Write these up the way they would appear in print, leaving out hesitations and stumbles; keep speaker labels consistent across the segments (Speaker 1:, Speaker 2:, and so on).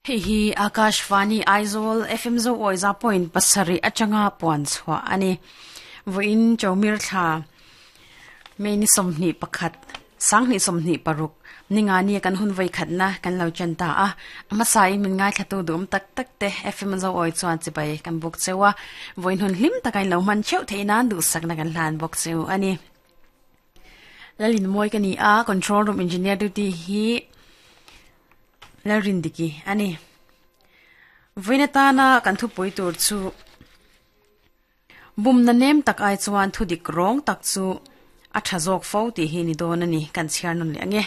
Speaker 1: Hei hi Akashvani Aizawl FM Zo Awiza point pasarih atanga puan chhuah a ni. Vawiin Chawmir thla May ni 21, sanghnih 26 ninga nia kan hun vawi khatna kan lo chen ta a. A hmasain min ngaithlatu duhawm tak tak te FM Zo Awi chuan chibai kan buk cheu a. Vawiin hun hlim taka in lo hman theuh theih nan duhsakna kan hlan bawk cheu a ni. Lalin mawi ka ni a, control room engineer duty hi Lalrindiki a ni. Vawiin atana kan thupui tur chu bumna nem tak ai chuan thudik rawng tak chu a tha zawk fo tih hi ni dawn a ni kan chhiar nawn leh ang e.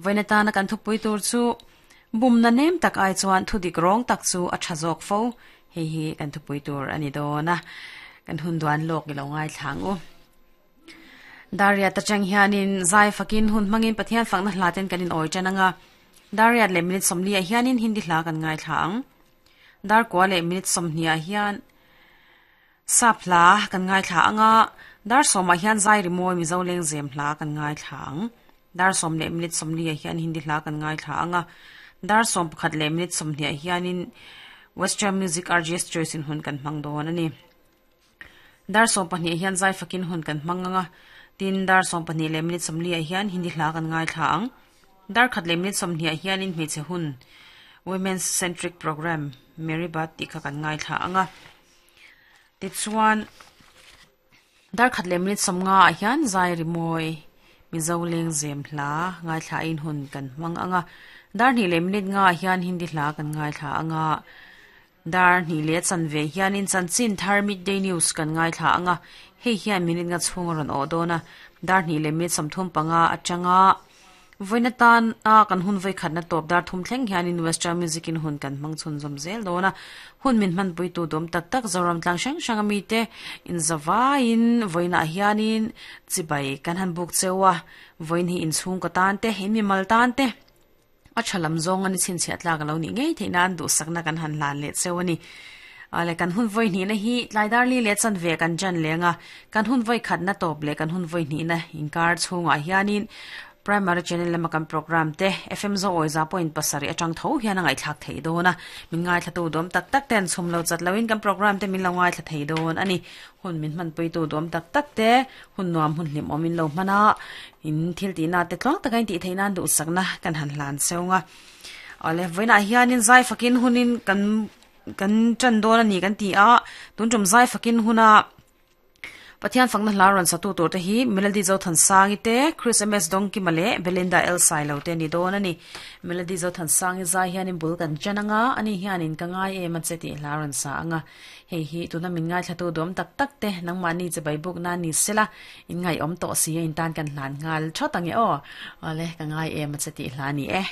Speaker 1: Vawiin atana kan thupui tur chu bumna nem tak ai chuan thudik rawng tak chu a tha zawk fo hei hi kan thupui tur a ni dawn a, kan hun duan lawk i lo ngaithla ang u. Dariat atang hianin zai fakin hun hmangin Pathian fakna hla ten kan in awi tan anga. Dariat leh minute 40 ah hianin Hindi hla kan ngaithla ang. Dar kua leh minute 20 ah hian Sap hla kan ngaithla anga. Dar sawmah hian zai rimawi Mizo lengzem hla kan ngaithla ang. Dar sawm leh minute 40 ah hian Hindi hla kan ngaithla anga. Dar sawm pakhat leh minute 20 ah hianin Western Music RGS Choice in hun kan hmang dawn a ni. Dar 12 hian zai fakin hun kan hmang ang a, tin dar 12 leh minute 40 ah hian Hindi hla kan ngaithla ang. Dar khat leh minute 20 ah hianin hmeichhe hun Women's Centric Programme Mary Bath tih kha kan ngaithla ang a. Tichuan dar khat leh minute 50 ah hian zai rimawi Mizo lengzem hla ngaithla in hun kan hmang ang a. Dar hnih leh minute nga ah hian Hindi hla kan ngaithla ang a. Dar hnih leh chanve hianin chanchin thar Midday News kan ngaithla ang a, hei hian minute nga chhung a rawn awh dawn a. Dar hnih leh minute 35 atanga vawiin atan a kan hun vawikhatna tawp dar thum thleng hianin Western Music in hun kan hmang chhunzawm zel dawn a. Hun min hmanpuitu dawm tak tak Zoram tlang hrang hrang a mite inzavaiin vawiinah hianin chibai kan han buk cheu a, vawiin hi inchhungkaw tan te, in mimal tan te, A tha lam zawng a ni chhinchhiah tlak a lo nih ngei theih nan duhsakna kan han hlan leh cheu a ni. Ale kan hun vawi hnihna hi tlaidar li leh chanve kan jan leng a, kan hun vawi khatna tawp leh kan hun vawi hnihna inkar chhungah hianin Primary Channel lama kan program te FM Zo Awiza point pasarih atang tho hian a ngaihthlak theih dawn a, min ngaithlatu duam tak tak ten chhum lo chat loin kan program te min lo ngaithla thei dawn a ni. Hun min hmanpuitu duam tak tak te hun nuam hun hlim awmin lo hman a, in thil tihna te tluang taka in tih theih nan duhsakna kan han hlan cheu nga. Awle, vawiinah hianin zai fakin hunin kan kan tan dawn a ni kan ti a, tun tum zai fakin huna Pathian fakna hla rawn satu tur te hi Melody Zothansangi te, Chris MS Dawngkima leh Belinda L Sailo te a ni dawn a ni. Melody Zothansangi zai hianin bul kan tan anga, ani hianin ka ngai em a che tih hla rawn sa anga. Hei hi tuna min ngaithlatu duam tak tak te nangmahni chibai buk nan ni sela, in ngaihawm tawh si a in tan kan hlan nghal thawt ang e aw. Awle, ka ngai em a che tih hla a ni e.